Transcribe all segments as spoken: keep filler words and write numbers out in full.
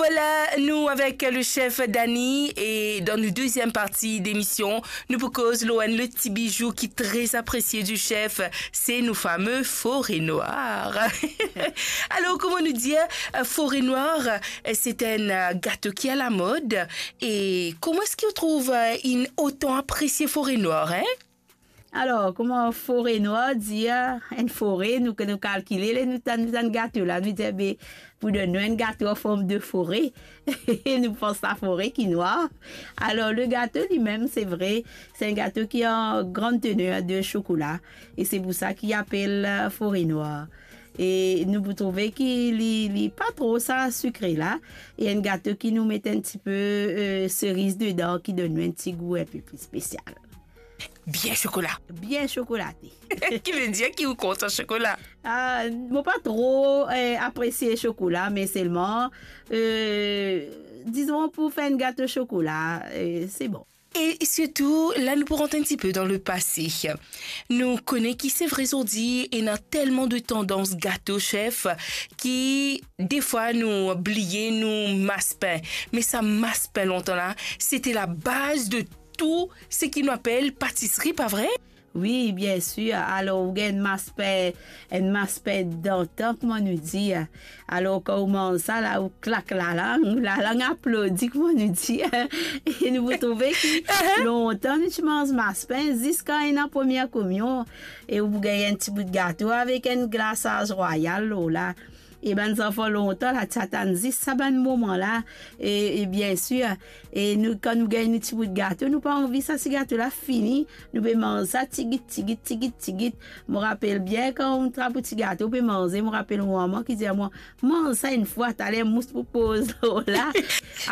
Vwala, nou avek le chef Dani, e dan nou deziem parti demision, nou pou koz lor enn lot ti bijou ki tre apresie di chef, se nou fame fore nwar. Alor, kouma nou dir, fore nwar, se enn gato ki alamod, e kouma eski ou trouv inn otan apresie fore nwar, en? Alor, kouma fore nwar dir, enn fore, nou, nou kalkile, le, nou tann, nou tann gato la, nou dir, be, pou donn nou enn gato an form de fore, nou pans sa fore ki nwar. Alor, le gato limem, se vre, se enn gato ki an gran tener de sokola, e se pou sa ki apel, eh, fore nwar. E nou pou trouve ki li, li pa tro sa sikre la, e enn gato ki nou met enn tipe, eh, seriz dedan, ki donn nou enn ti gou enn pe pli spesial. Bien sokola. Bien sokolate. Ki vedir ki ou kontan sokola? Ah, mo pa tro, eh, apresie sokola, me selman, eh, dizon pou fer enn gato sokola, eh, se bon. E sirtou, la nou pou rant enn tipe dan lepase. Nou kone ki se vre zordi, ena telman de tandans gato, chef, ki defwa nou bliye nou maspin. Me sa maspin lontan la, sete labaz de tou seki nou apel patisri, pa vre? Wi, bien sir. Alor, ou gagn enn maspin, enn maspin dantan, kouma nou dir. Alor, kan ou manz sa la, ou klak lalang, lalang aplodi, kouma nou dir. E nou pou trouve ki lontan nou ti manz maspin, ziska ena premie kominyon, e ou pou gagn enn ti bout gato avek enn glasaz rwayal lor la. E bann zanfan lontan la, ti atann zis sa bann moman la. E, e bien sir, e nou, kan nou gagn nou ti bout gato, nou pa anvi sa ti gato la fini. Nou pe manz sa tigit, tigit, tigit, tigit. Mo rapel bien, kan ou trap ou ti gato, ou pe manze, mo rapel mo mama ki dir mwa, "Manz sa enn fwa, taler mous pou poz lor la."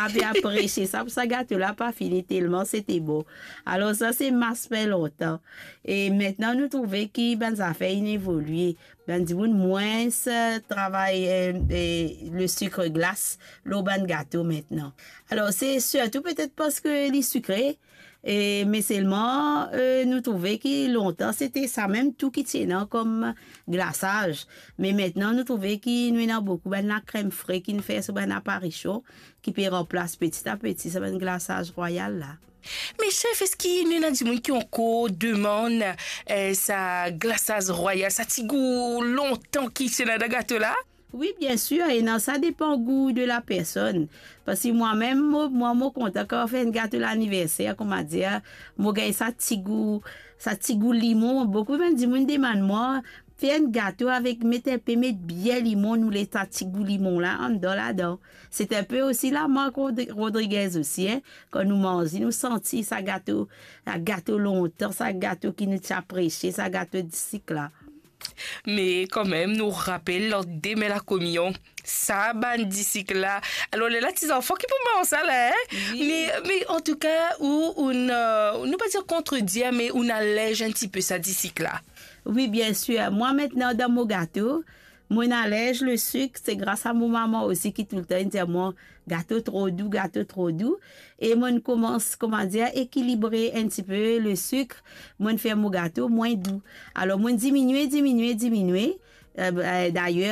Ape apresie sa, pou sa gato la pa fini, telman sete bon. Alor, sa se maspin lontan. E mintnan, nou trouve ki bann zafer inn evolie. Bann dimoun mwins, eh, travay, eh, eh, le sik glas lor bann gato mintnan. Alor, se sirtou petet parski li sikre, e, me selman, eh, nou trouve ki lontan, sete samem tou ki ti ena kom glasaz. Me mintnan, nou trouve ki nou ena boukou bann lakrem fre ki'nn fer so bann aparision, ki pe ranplas peti a peti sa bann glasaz rwayal la. Me chef, eski nou ena dimoun ki ankor demann, eh, sa glasaz rwayal, sa ti gou lontan ki ti ena dan gato la? Wi, bien sir, ena, sa depan gou de lapersonn. Parski mwa mem, mo, mwa, mo kontan kan mo fer enn gato laniverser, kouma dir, mo gagn sa ti gou, sa ti gou limon. Boukou bann dimoun demann mwa, fer enn gato avek, met enpe, met bien limon, nou le sa ti gou limon la, anndan ladan. Se enpe osi lamark Rodri-, Rodriguez osi, en. Kan nou manze, nou santi sa gato, sa gato lontan, sa gato ki nou ti apresie, sa gato disik la. Me kanmem, nou rapel, landime lakominyon, sa bann disik la. Alor, lerla ti zanfan ki pou manz sa la, en? Wi. Me, me antouka, ou, ou, eh, nou pa dir kontredir, me ou alerz enn tipe sa disik la. Wi, bien sir. Mwa, mintnan, dan mo gato, mo alerz le sik, se gras a mo mama osi ki toultan inn dir mwa, "Gato tro dou, gato tro dou." E mo'nn koumans, kouma dir, ekilibre enn tipe le sik, mo'nn fer mo gato mwin dou. Alor, mo'nn diminie, diminie, diminie. Eh, eh, dayer,